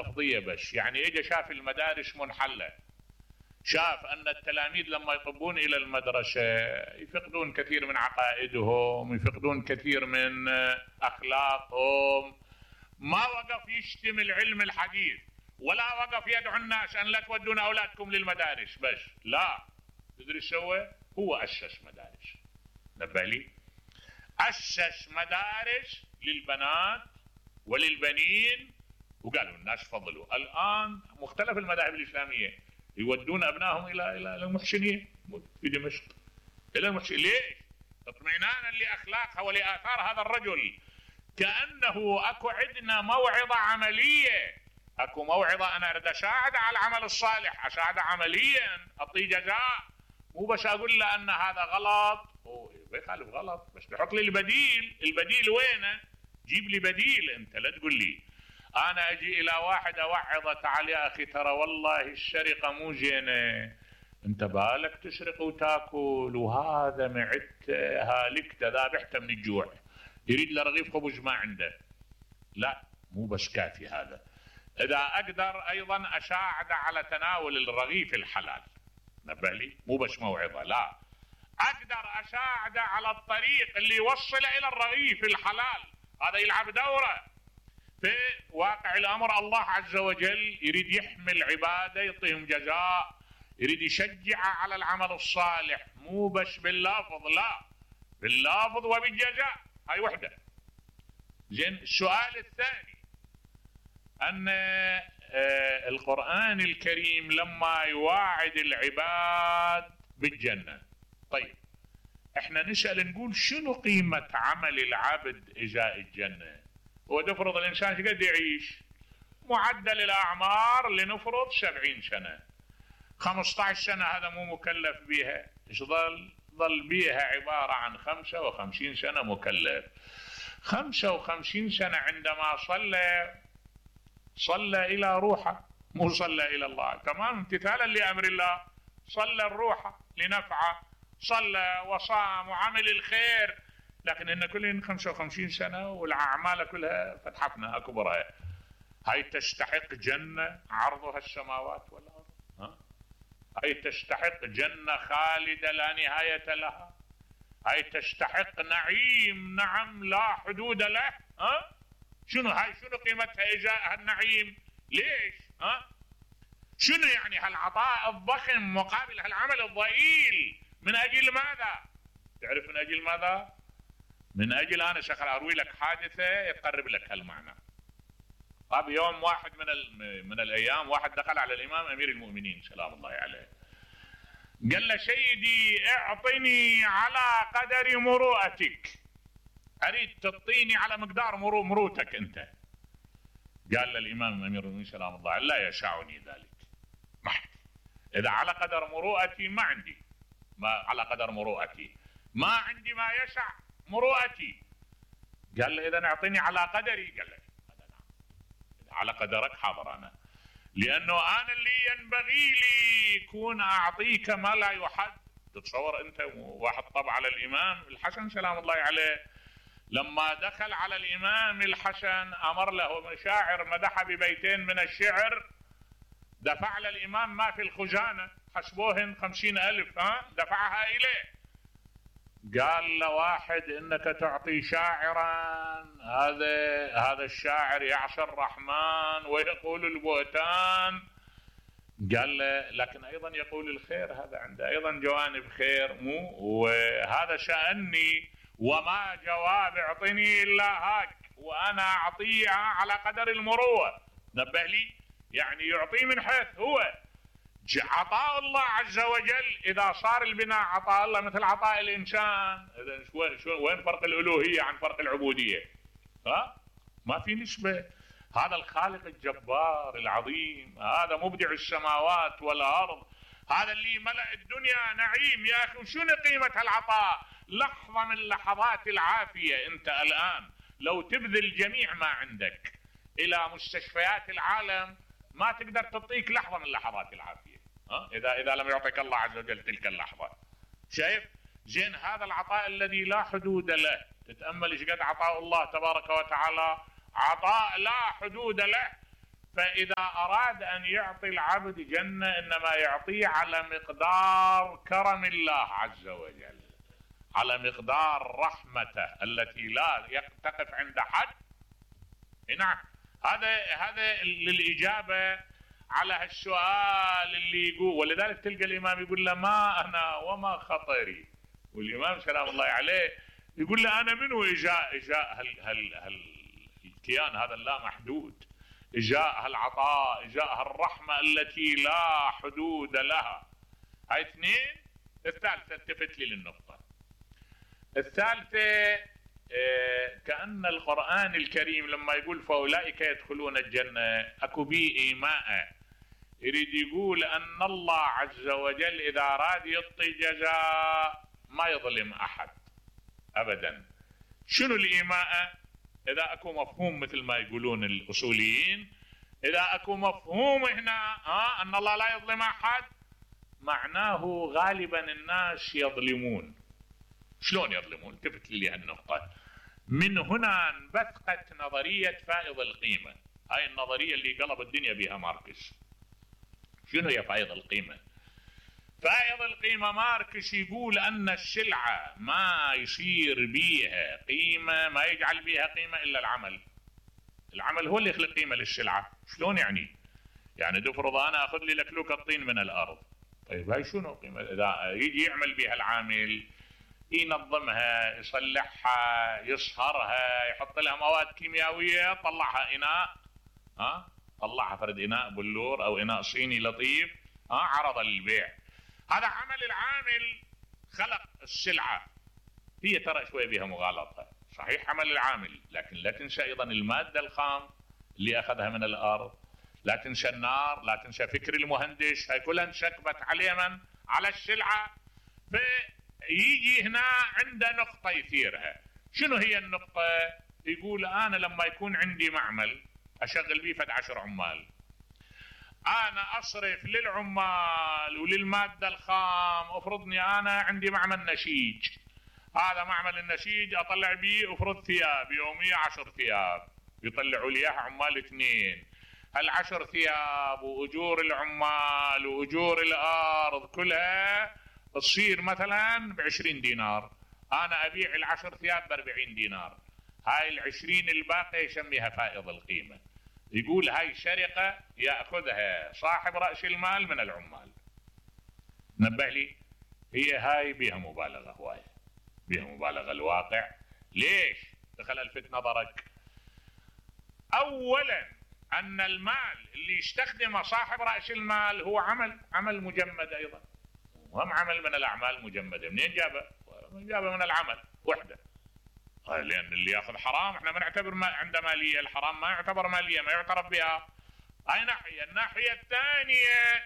لفظية بس، يعني اجى شاف المدارس منحلة، شاف ان التلاميذ لما يطبون الى المدرسة يفقدون كثير من عقائدهم، يفقدون كثير من اخلاقهم. ما وقف يشتم العلم الحديث ولا وقف يدعو الناس ان لا تودون اولادكم للمدارس بس، لا. تدري سوى؟ هو اسس مدارس. نبه لي، اسس مدارس للبنات وللبنين، وقالوا الناس فضلوا. الان مختلف المذاهب الاسلاميه يودون ابنائهم الى المحسنين في دمشق، الى المحسنين. ليش؟ اطمئنانا لاخلاقها ولاثار هذا الرجل. كانه اكو عندنا موعظه عمليه، اكو موعظه انا اريد اساعد على العمل الصالح، اساعده عمليا، اعطيه جزاء، مو بس اقول له ان هذا غلط. بيخالف غلط، بس تحط لي البديل. البديل وينه؟ جيب لي بديل. انت لا تقول لي انا اجي الى واحد اوعظه، تعال يا اخي ترى والله السرقه مو زينه، انت بالك تسرق وتاكل وهذا معدت هالكت ذابحته من الجوع، يريد له رغيف خبز ما عنده. لا، مو بس كافي هذا. اذا اقدر ايضا اساعد على تناول الرغيف الحلال، نبه لي، مو بس موعظه، لا، اقدر اساعد على الطريق اللي يوصل الى الرغيف الحلال، هذا يلعب دوره. في واقع الامر الله عز وجل يريد يحمي العباده، يعطيهم جزاء، يريد يشجع على العمل الصالح، مو بس باللفظ، لا، باللفظ وبالجزاء. هاي وحده. زين، السؤال الثاني ان القرآن الكريم لما يواعد العباد بالجنة، طيب احنا نسأل نقول شنو قيمة عمل العبد ازاء الجنة؟ ونفرض الانسان قد يعيش، معدل الاعمار لنفرض 70 سنة، 15 سنة هذا مو مكلف بها، ايش ظل بيها عبارة عن 55 سنة مكلف. 55 سنة عندما صلى إلى روحه، مو صلى إلى الله، تمام، امتثالا لأمر الله، صلى الروح لنفعه، صلى وصام وعمل الخير، لكن إن كلهن 55 سنة والأعمال كلها فتحتنا أكبرها. هاي تستحق جنة عرضها السماوات والأرض؟ هاي تستحق جنة خالدة لا نهاية لها؟ هاي تستحق نعيم، نعم، لا حدود له؟ شنو هاي؟ شنو قيمتها إجاء هالنعيم؟ ليش؟ شنو يعني هالعطاء الضخم مقابل هالعمل الضئيل؟ من أجل ماذا؟ تعرف من أجل ماذا؟ من أجل أنا شغل أروي لك حادثة تقرب لك هالمعنى. طب يوم واحد من الأيام واحد دخل على الإمام أمير المؤمنين سلام الله عليه، قال له سيدي اعطني على قدر مروءتك، أريد تعطيني على مقدار مروتك أنت. قال له الإمام أمير المؤمنين سلام الله عليه لا يسعني ذلك، ما إذا على قدر مروءتي ما عندي، ما على قدر مروءتي ما عندي ما يسع مروءتي. قال له إذا اعطيني على قدري. قال له على قدرك حاضر أنا، لأنه أنا اللي ينبغي لي يكون أعطيك ما لا يحد. تتصور أنت واحد طبع على الإمام الحسن سلام الله عليه، لما دخل على الإمام الحسن أمر له شاعر مدح ببيتين من الشعر، دفع للإمام ما في الخزانة، حسبوهن 50,000، دفعها إليه. قال له واحد إنك تعطي شاعرا، هذا الشاعر يعصي الرحمن ويقول البهتان. قال له لكن أيضا يقول الخير، هذا عنده أيضا جوانب خير، مو وهذا شأني، وما جواب اعطني إلا هاك، وأنا أعطيه على قدر المروءة. نبه لي، يعني يعطيه من حيث هو عطاء الله عز وجل. إذا صار البناء عطاء الله مثل عطاء الإنسان، إذا وين فرق الألوهية عن فرق العبودية؟ ما في نسبة. هذا الخالق الجبار العظيم، هذا مبدع السماوات والأرض، هذا اللي ملأ الدنيا نعيم. يا أخي شنو قيمة العطاء؟ لحظة من لحظات العافية. أنت الآن لو تبذل جميع ما عندك إلى مستشفيات العالم ما تقدر تعطيك لحظة من لحظات العافية، إذا لم يعطيك الله عز وجل تلك اللحظة. شايف؟ زين، هذا العطاء الذي لا حدود له، تتأمل ايش قد عطاء الله تبارك وتعالى، عطاء لا حدود له. فإذا أراد أن يعطي العبد جنة إنما يعطيه على مقدار كرم الله عز وجل، على مقدار رحمته التي لا تقف عند حد. نعم، هذا للإجابة على هالسؤال اللي يقول. ولذلك تلقى الإمام يقول له ما أنا وما خطري، والإمام سلام الله عليه يقول له أنا منو إجاء الكيان هذا اللا محدود، إجاء هالعطاء، إجاء هالرحمة التي لا حدود لها. هاي اثنين. الثالثة التفت لي للنقطة الثالثة، كأن القرآن الكريم لما يقول فأولئك يدخلون الجنة أكو بيه إيماء، يريد يقول أن الله عز وجل إذا أراد يعطي جزاء ما يظلم أحد أبدا. شنو الإيماء؟ إذا أكو مفهوم مثل ما يقولون الأصوليين، إذا أكو مفهوم هنا أن الله لا يظلم أحد، معناه غالبا الناس يظلمون. شلون يظلمون؟ التفت لي هالنقطة. من هنا انبثقت نظرية فائض القيمة، هاي النظرية اللي قلب الدنيا بها ماركس. شنو هي فائض القيمة؟ فائض القيمة ماركس يقول أن السلعة ما يصير بيها قيمة، ما يجعل بيها قيمة إلا العمل. العمل هو اللي يخلق قيمة للسلعة. شلون يعني؟ يعني تفرض أنا أخذ لي لكلوك الطين من الأرض، طيب هاي شنو قيمة؟ إذا يجي يعمل بها العامل، ينظمها، يصلحها، يصهرها، يحط لها مواد كيميائية، طلعها إناء، طلعها فرد إناء بلور أو إناء صيني لطيف، عرض للبيع. هذا عمل العامل، خلق السلعة. هي ترى شوية بها مغالطة، صحيح عمل العامل، لكن لا تنسى أيضا المادة الخام اللي أخذها من الأرض، لا تنسى النار، لا تنسى فكر المهندس، هاي كلها انسكبت عليه من؟ على السلعة. فيجي هنا عنده نقطة يثيرها. شنو هي النقطة؟ يقول أنا لما يكون عندي معمل أشغل بيه فد 10 عمال، أنا أصرف للعمال وللمادة الخام. أفرضني أنا عندي معمل نسيج، هذا معمل النسيج أطلع بيه أفرض ثياب يومية 10 ثياب، يطلعوا لي إياها عمال 2. هال10 ثياب وأجور العمال وأجور الأرض كلها تصير مثلا ب20 دينار، أنا أبيع ال10 ثياب ب40 دينار. هاي ال20 الباقي يسميها فائض القيمة. يقول هاي سرقة يأخذها صاحب رأس المال من العمال. نبه لي، هي هاي بها مبالغة هواية، بها مبالغة. الواقع ليش؟ دخل الفت نظرك. أولا أن المال اللي يستخدمه صاحب رأس المال هو عمل مجمد أيضا، وهم عمل من الأعمال مجمدة. منين جابه؟ جابه من العمل وحده. لأن اللي يأخذ حرام احنا ما نعتبر عنده مالية، الحرام ما يعتبر مالية، ما يعترف بها. هاي ناحية. الناحية الثانية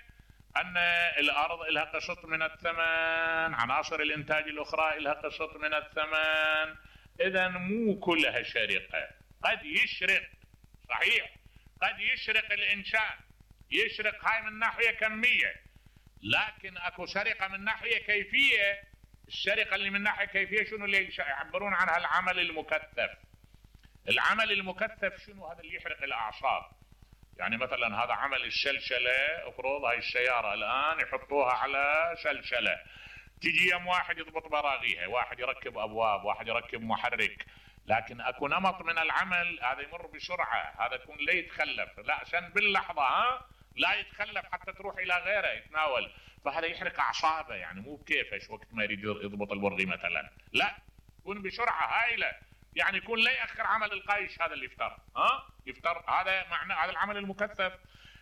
أن الأرض لها قسط من الثمن، عناصر الإنتاج الأخرى لها قسط من الثمن. إذا مو كلها سرقة، قد يشرق، صحيح قد يشرق الإنسان، يشرق هاي من ناحية كمية، لكن أكو سرقة من ناحية كيفية. السرقة اللي من ناحية كيفية شنو اللي يعبرون عنها؟ العمل المكثف. العمل المكثف شنو؟ هذا اللي يحرق الأعصاب. يعني مثلا هذا عمل السلسلة، افرض هاي السيارة الآن يحطوها على سلسلة، تجي يوم واحد يضبط براغيها، واحد يركب أبواب، واحد يركب محرك، لكن أكو نمط من العمل هذا يمر بسرعة، هذا يكون لا يتخلف، لا عشان باللحظة لا يتخلف حتى تروح إلى غيره يتناول، فهذا يحرق أعصابه. يعني مو بكيفش وقت ما يريد يضبط البرغي مثلا، لا يكون بسرعة هائلة. يعني يكون لا يأخر عمل القايش هذا اللي يفتر، يفتر. هذا معنى هذا العمل المكثف.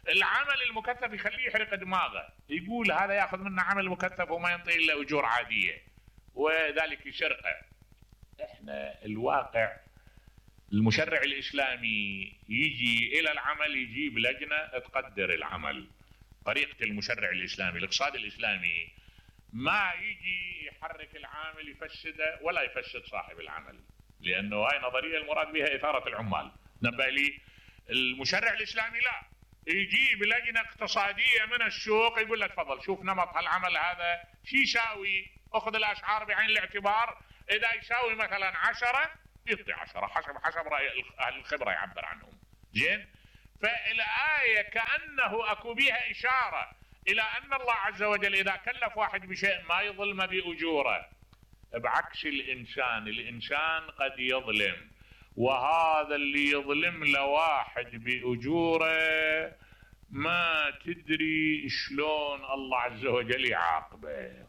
العمل المكثف يخليه يحرق دماغه، يقول هذا ياخذ منا عمل مكثف وما ينطي الا اجور عاديه، وذلك يسرقه. احنا الواقع المشرع الاسلامي يجي الى العمل، يجيب لجنه تقدر العمل. طريقه المشرع الاسلامي، الاقتصاد الاسلامي ما يجي يحرك العامل يفسده ولا يفسد صاحب العمل، لانه هاي نظريه المراد بها اثاره العمال. نبه لي، المشرع الاسلامي لا، يجيب لجنه اقتصاديه من السوق يقول لك تفضل شوف نمط هالعمل هذا شو يساوي، اخذ الاسعار بعين الاعتبار، اذا يساوي مثلا 10 يعطي 10 حسب راي اهل الخبره يعبر عنهم. زين، فالآية كأنه أكو بها إشارة إلى أن الله عز وجل إذا كلف واحد بشيء ما يظلم بأجوره، بعكس الإنسان قد يظلم، وهذا اللي يظلم لواحد بأجوره ما تدري شلون الله عز وجل يعاقبه.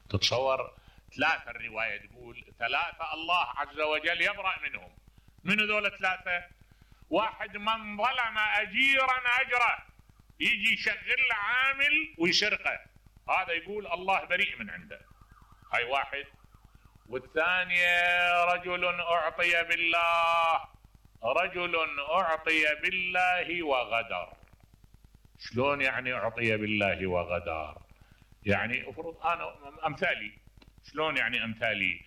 تتصور 3 الرواية تقول 3 الله عز وجل يبرأ منهم. من هذول 3؟ واحد من ظلم أجيرا أجره، يجي يشغل عامل ويسرقه، هذا يقول الله بريء من عنده، هاي واحد. والثانية رجل أعطي بالله وغدر. شلون يعني أعطي بالله وغدر؟ يعني افرض أنا أمثالي. شلون يعني أمثالي؟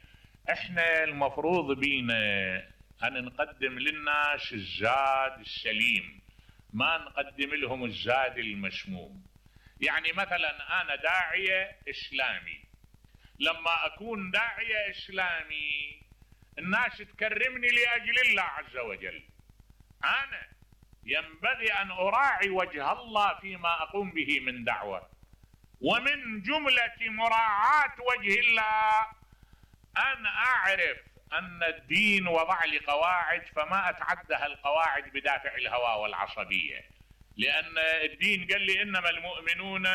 احنا المفروض بينا أن نقدم للناس الزاد السليم، ما نقدم لهم الزاد المسموم. يعني مثلا أنا داعية إسلامي، لما أكون داعية إسلامي الناس تكرمني لأجل الله عز وجل، أنا ينبغي أن أراعي وجه الله فيما أقوم به من دعوة، ومن جملة مراعاة وجه الله أن أعرف أن الدين وضع لي قواعد فما أتعدها القواعد بدافع الهوى والعصبية، لأن الدين قال لي إنما المؤمنون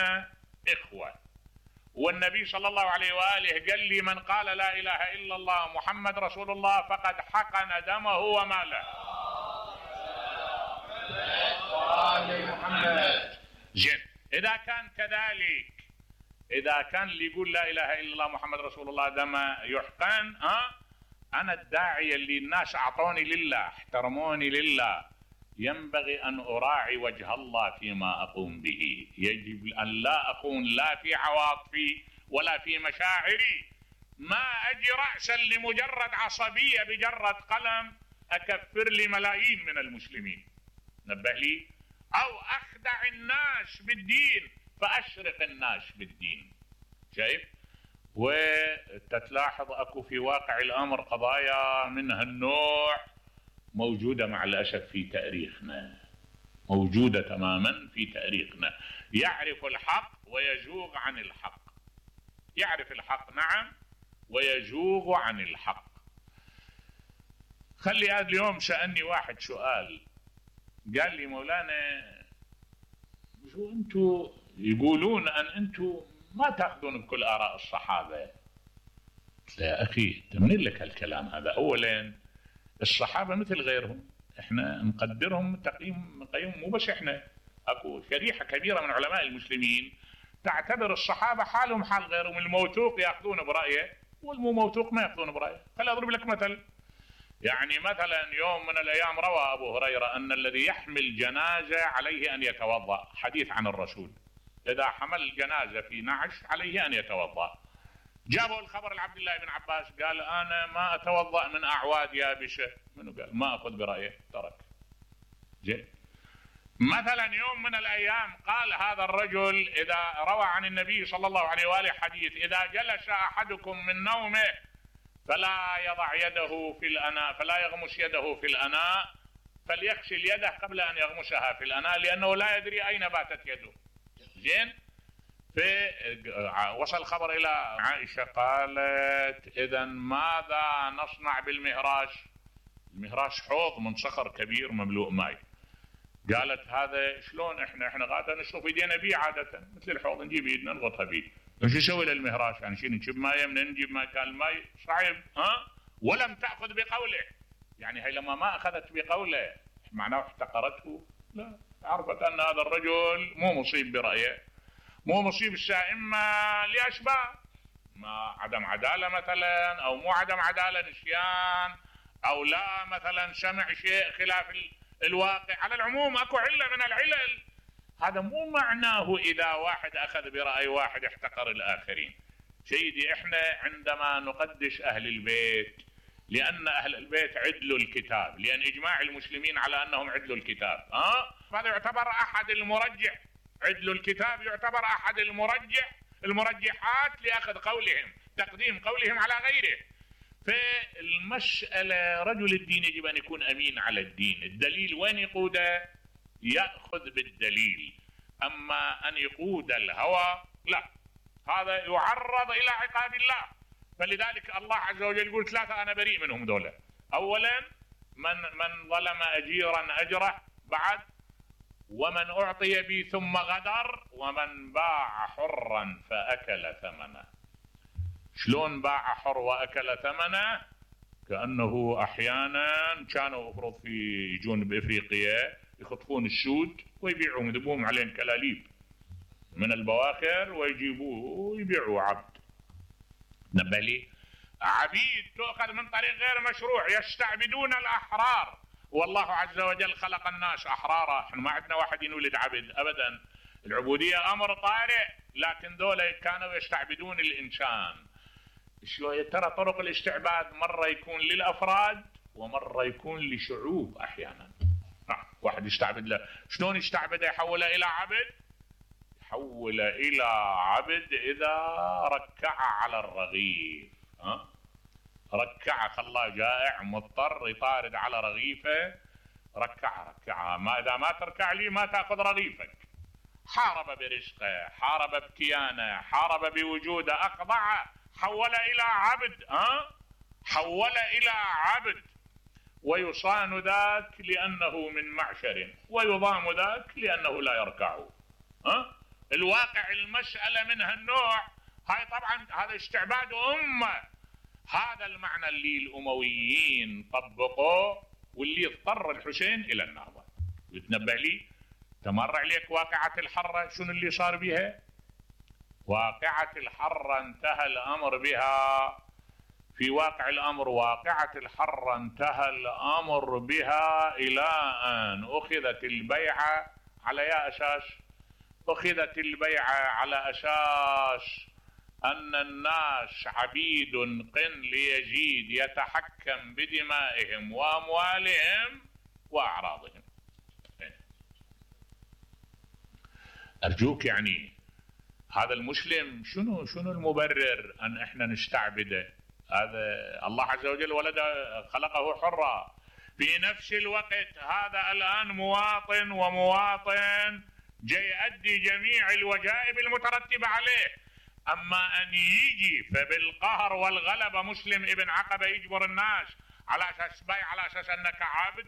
إخوة، والنبي صلى الله عليه وآله قال لي من قال لا إله إلا الله محمد رسول الله فقد حقن دمه وماله. زين، إذا كان كذلك، إذا كان اللي يقول لا إله إلا الله محمد رسول الله دمه يحقن، أنا الداعية اللي الناس أعطوني لله احترموني لله، ينبغي أن أراعي وجه الله فيما أقوم به. يجب أن لا أكون لا في عواطفي ولا في مشاعري، ما أجي رأسا لمجرد عصبية بجرد قلم أكفر لي ملايين من المسلمين، نبه لي، أو أخدع الناس بالدين فأشرق الناس بالدين. شايف؟ وتتلاحظ أكو في واقع الأمر قضايا من هالنوع موجودة مع الأسف في تاريخنا، موجودة تماما في تاريخنا. يعرف الحق ويزوغ عن الحق، يعرف الحق نعم ويزوغ عن الحق. خلي هذا اليوم سألني واحد سؤال، قال لي مولانا شو أنتوا يقولون أن أنتوا ما تأخذون بكل آراء الصحابة؟ يا أخي تمنين لك هالكلام هذا. أولا الصحابة مثل غيرهم، احنا نقدرهم تقييم مو بس احنا، اكو شريحة كبيرة من علماء المسلمين تعتبر الصحابة حالهم حال غيرهم، الموثوق يأخذون برأيه والمو موثوق ما يأخذون برأيه. خلي أضرب لك مثل، يعني مثلا يوم من الأيام روى أبو هريرة أن الذي يحمل جنازة عليه أن يتوضأ، حديث عن الرسول، إذا حمل جنازة في نعش عليه أن يتوضأ. جابوا الخبر لعبد الله بن عباس، قال أنا ما أتوضأ من أعواد يابسة. منو قال؟ ما أخذ برأيه، ترك. زين. مثلا يوم من الأيام قال هذا الرجل، إذا روى عن النبي صلى الله عليه وآله حديث، إذا جلس أحدكم من نومه فلا يضع يده في الأناء، فلا يغمس يده في الأناء، فليغسل يده قبل أن يغمسها في الأناء لأنه لا يدري أين باتت يده. زين. وصل الخبر إلى عائشة، قالت إذن ماذا نصنع بالمهراش؟ المهراش حوض من صخر كبير مملوء ماء. قالت هذا شلون احنا غادا نشرب ايدينا بيه عادة، مثل الحوض نجيب ايدنا نضغطها بيه، شو نسوي للمهراش؟ يعني شو نجيب ماء من نجيب ماء؟ كان الماء صعب. ولم تأخذ بقوله، يعني هي لما ما أخذت بقوله معناه احتقرته؟ لا، عرفت أن هذا الرجل مو مصيب برأيه، مو مصيب السائمة لأسباب، ما عدم عدالة مثلا، أو مو عدم عدالة نسيان، أو لا مثلا سمع شيء خلاف الواقع. على العموم أكو علة من العلل، هذا مو معناه إذا واحد أخذ برأي واحد احتقر الآخرين. سيدي احنا عندما نقدس أهل البيت، لأن أهل البيت عدلوا الكتاب، لأن إجماع المسلمين على أنهم عدلوا الكتاب، هذا يعتبر أحد المرجح، عدل الكتاب يعتبر أحد المرجحات لأخذ قولهم، تقديم قولهم على غيره. فالمسألة رجل الدين يجب أن يكون أمين على الدين. الدليل وين يقوده؟ يأخذ بالدليل. أما أن يقود الهوى لا، هذا يعرض إلى عقاب الله. فلذلك الله عز وجل يقول ثلاثة أنا بريء منهم دولة. أولا من ظلم أجيرا أجره، بعد ومن أعطي بي ثم غدر، ومن باع حرا فأكل ثمنه. شلون باع حر وأكل ثمنه؟ كأنه أحيانا كانوا أفرض يجون بإفريقيا يخطفون السود ويبيعون، يذبون عليهم كلاليب من البواخر ويجيبوه ويبيعوا عبد. نبه لي عبيد تؤخذ من طريق غير مشروع، يستعبدون الأحرار. والله عز وجل خلق الناس أحرارا. احنا ما عندنا واحد ينولد عبد أبدا، العبودية أمر طارئ، لكن دول كانوا يستعبدون الإنسان. شلون ترى طرق الاستعباد مرة يكون للأفراد ومرة يكون لشعوب. أحيانا واحد يستعبد له، شلون يستعبده؟ يحوله إلى عبد، يحول إلى عبد إذا ركع على الرغيف. ركع، خلاه جائع مضطر يطارد على رغيفه، ركعها. ما إذا ما تركع لي ما تأخذ رغيفك. حارب برزقه، حارب بكيانه، حارب بوجوده، أخضعه، حول إلى عبد. حول إلى عبد. ويصان ذاك لأنه من معشر، ويضام ذاك لأنه لا يركع. الواقع المسألة من هالنوع. هاي طبعا هذا استعباد أمة. هذا المعنى اللي الأمويين طبقوه، واللي اضطر الحسين إلى النهضة. يتنبأ لي تمر عليك واقعة الحرة، شنو اللي صار بها؟ واقعة الحرة انتهى الأمر بها. في واقع الأمر واقعة الحرة انتهى الأمر بها إلى أن أخذت البيعة على يا أساس؟ أخذت البيعة على أساس أن الناس عبيد قن ليزيد يتحكم بدمائهم وأموالهم وأعراضهم. أرجوك يعني هذا المسلم شنو المبرر أن إحنا نستعبده؟ هذا الله عز وجل خلقه حرا. في نفس الوقت هذا الآن مواطن، ومواطن جاي يؤدي جميع الوجائب المترتبة عليه. أما أن يجي فبالقهر والغلبة مسلم ابن عقبة يجبر الناس على أساس بايع، على أساس أنك عابد،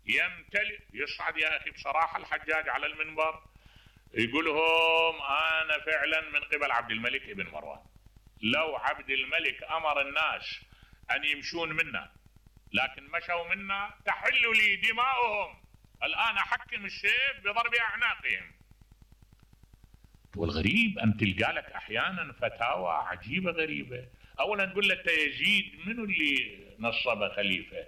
يمتلئ. يصعد يا أخي بصراحة الحجاج على المنبر يقولهم أنا فعلا من قبل عبد الملك ابن مروان. لو عبد الملك أمر الناس أن يمشون منا لكن مشوا منا تحل لي دماؤهم، الآن أحكم السيف بضرب أعناقهم. والغريب أن تلقى لك أحيانا فتاوى عجيبة غريبة. أولا تقول لك يزيد منو اللي نصب خليفة؟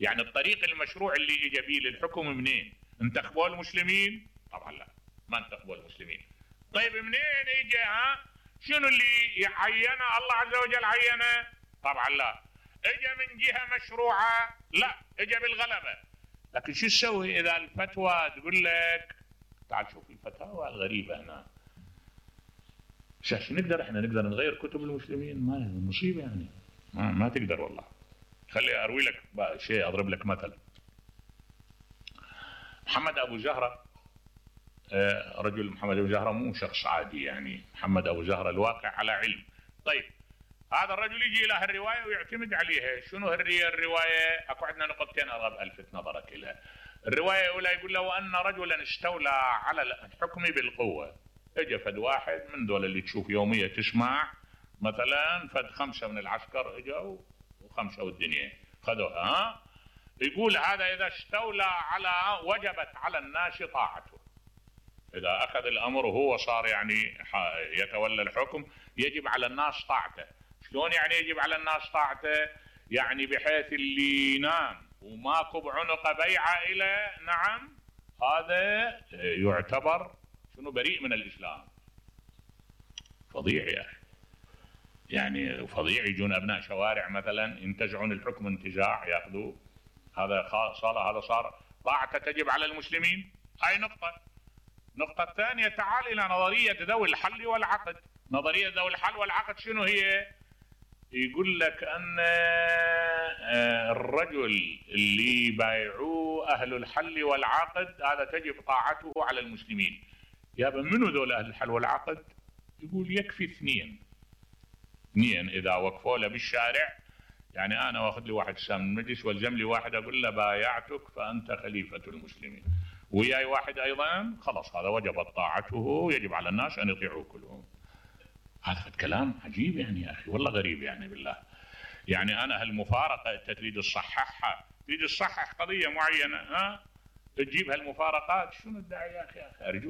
يعني الطريق المشروع اللي إجا بيه للحكم منين؟ انتخبوا المسلمين؟ طبعا لا، ما انتخبوا المسلمين. طيب منين إجا؟ شنو اللي عينه؟ الله عز وجل عينه؟ طبعا لا. إجا من جهة مشروعة؟ لا، إجا بالغلبة. لكن شو تسوي إذا الفتوى تقول لك تعال شوف الفتاوى الغريبة هنا. شو احنا نقدر نغير كتب المسلمين؟ ما مصيبة يعني، ما تقدر والله. خلي أروي لك شيء، أضرب لك مثل. محمد أبو زهرة، رجل محمد أبو زهرة مو شخص عادي يعني، محمد أبو زهرة الواقع على علم. طيب هذا الرجل يجي له الرواية ويعتمد عليها. شنو الرواية؟ أكو عندنا نقطتين أرغب ألفت نظرك إليها. الرواية الأولى يقول له أن رجلا استولى على الحكم بالقوة. اجى فد واحد من دول اللي تشوف يومية تسمع مثلا فد 5 من العسكر اجوا و5 والدنيا خذوها. يقول هذا إذا استولى على وجبت على الناس طاعته. إذا أخذ الأمر وهو صار يعني يتولى الحكم يجب على الناس طاعته. شلون يعني يجب على الناس طاعته؟ يعني بحيث اللي ينام وماكو بعنق بيعة إلى نعم هذا يعتبر شنو بريء من الإسلام. فظيع يا أخي، يعني فظيع. يجون أبناء شوارع مثلا ينتزعون الحكم انتزاع يأخذوه، هذا صار طاعته تجب على المسلمين. هاي نقطة. النقطة الثانية تعال إلى نظرية ذوي الحل والعقد. نظرية ذوي الحل والعقد شنو هي؟ يقول لك أن الرجل اللي بايعوه أهل الحل والعقد هذا تجب طاعته على المسلمين. يابا منو ذول أهل الحل والعقد؟ يقول يكفي اثنين إذا وقفوا له بالشارع، يعني أنا واخذ لي واحد سام من المجلس والزم لي واحد أقول له بايعتك فأنت خليفة المسلمين، وياي واحد أيضا، خلاص هذا وجبت طاعته، يجب على الناس أن يطيعوا كلهم. هذا كلام عجيب يعني يا أخي، والله غريب يعني بالله. يعني أنا هالمفارقة أنت تريد تصححها، تريد تصحح قضية معينة، تجيب هالمفارقات، شنو الداعي يا أخي؟ أرجو